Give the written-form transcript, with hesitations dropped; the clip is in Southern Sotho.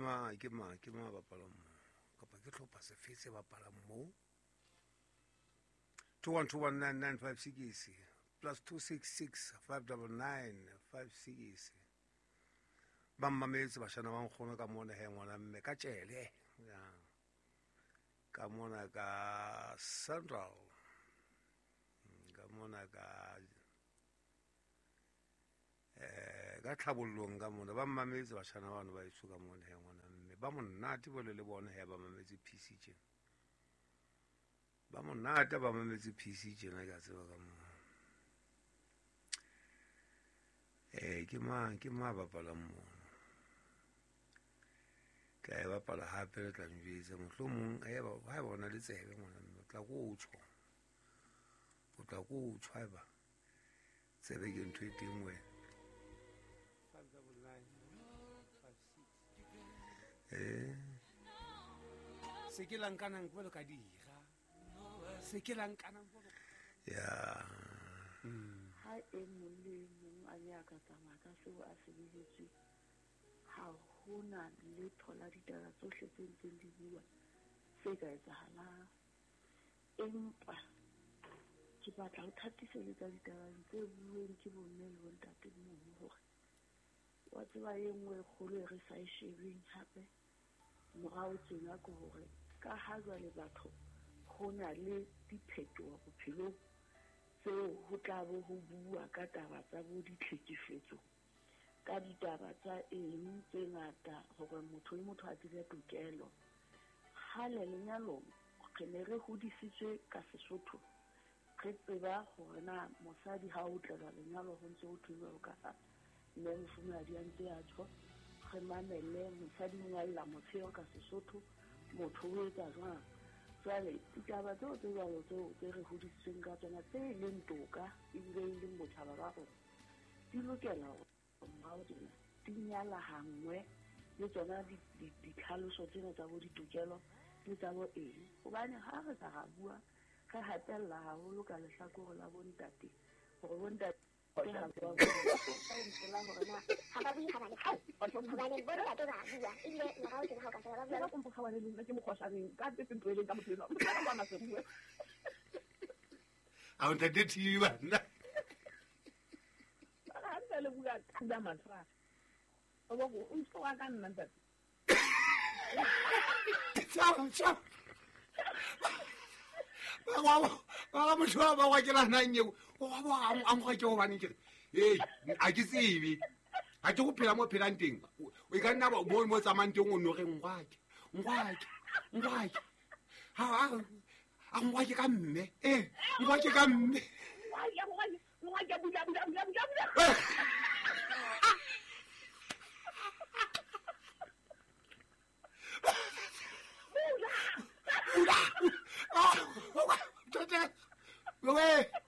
mang ke mang ke mang bapalang mo kapa ke tlhopha sefe se bapalang mo 2121995 plus 266 599 56 ba mmametse bashana ba nkgono ka mona he ngwana mme ka tšele ya ka mona ka central ka mona ka ka tlhabollong ka mona ba mmametse bashana bano ba eso ka mona he ngwana mme ba monate bole le bona he ba mametse PC tjena ba monate ba mametse PC tjena ke a tseba ka mona ke mang bapalang mono tla e bapala hape le tla njwetsa mohlomong ha eba o na le tsebe ngwana mme o tla ko o tjho o tla ko o tjho haeba tsebe ke ntho e teng wena 599 56 se ke lankanang jwalo ka dira se ke lankanang jwalo ya ha e mong le mong a ne a ka tsamaya ka seo a se behetswe ha hona letho la ditaba tsohle tse ntseng di bua se ka etsahalang. Empa ke batla ho thatiseletsa ditabeng tse bueng ke bomme le bontate mono hore wa tseba e nngwe e kgolo e re sa e shebeng hape morao tjena ke hore ka ha jwale batho ho na le diphetoho bophelong tseo ho tla bo ho bua ka taba tsa bo ditlhekefetso ka ditaba tsa eng tse ngata hore motho le motho a tsebe tokelo. Kgale lenyalong re ne re hodisitswe ka Sesotho re tseba hore na mosadi ha o tlelwa lenyalo ho ntse ho thwe jwalo ka ha mme mofumahadi a ntse a tjho, re mamelle mosadi o ngalla motsheo ka Sesotho motho o etsa jwang. Jwale ditaba tseo tse jwalo tseo tse re hodisitsweng ka tsona tse leng toka ebile e leng botjhaba ba rona di lokela hore morao tjena di nyalahangwe le tsona ditlhaloso tsena tsa bo ditokelo le tsa bo eng. Hobane ha re ka ra bua re hatella haholo ka lehlakore la bontate hore bontate ha ba la hore na ha ba bue ha ba le hobane bontate ba bua ebile morao tjena ha o ka sheba ba bua ka mokgwa wa le nna ke mokgwashaneng ka tse ntweleng ka motho enwa ka kwana se bue a o ntate TV bana ha ntse le bua ka mathra o bo o ntse wa ka nna ntate tsa ba motho ba wa ke la nang eo o ba a mo ke hobane ke re a ke tsebe ha ke go phela mo phelang teng o ka nna mo mo tsamayang teng o no re ngwake ngwake ha a ngwake ka mme ngwake ka mme ngwake bula bula bula bula bula bula.